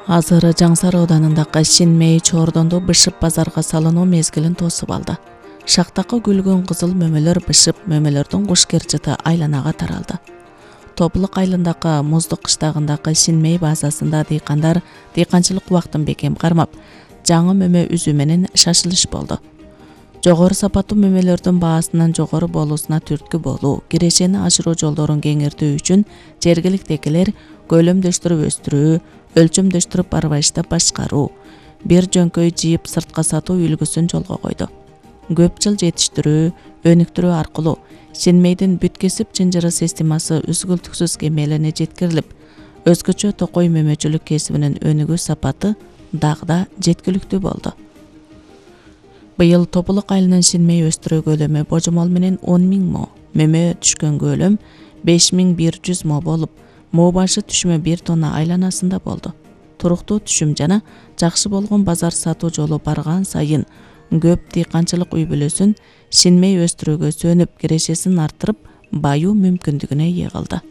Азыр Жаң Сары ауданындагы Шинмей Чордонду бышып базарга салынуу мезгилин тосуп алды. Шактакы күлгөн кызыл мөмөлөр бышып, мөмөлөрдүн кушкерчити айланага таралды. Топлук айылындагы Муздук кыштагындагы Шинмей базасында дыйкандар дыйканчылык убактын бекем кармап, жаңы мөмө үзүү менен шашылыш болду. Жогору сапаттуу мөмөлөрдүн баасынын жогору болуусуна түрткү болуу, кирешени ашыруу жолдорун кеңейтүү үчүн жергиликтегилер көлөмдөштүрүп өстүрүү, өлчөмдөштүрүп арбайыштап башкаруу, бир жөңкөй жыйып сыртка сатуу үлгүсүн жолго койду. Көп жыл жетиштирүү, өнүктүрүү аркылуу Шинмейдин бүт кесип чынжыры системасы үзгүлтүксүз кемелине жеткирилип, өзгөчө токой мөмөчүлүк кесибинин өнүгүү сапаты дагы да жеткиликтүү болду. Быйыл Тополук айылынын Шинмей өстүрүү көлөмү божомол менен 10 000 мо, мөмө түшкөн көлөм 5100 мо болуп, мо башы түшмө 1 тонна айланасында болду. Туруктуу түшүм жана жакшы болгон базар сатуу жолу барган сайын көп дыйканчылык үй бүлөсүн Шинмей өстүрүүгө сөнүп, кирешесин арттырып, баюу мүмкүндүгүнө ээ кылды.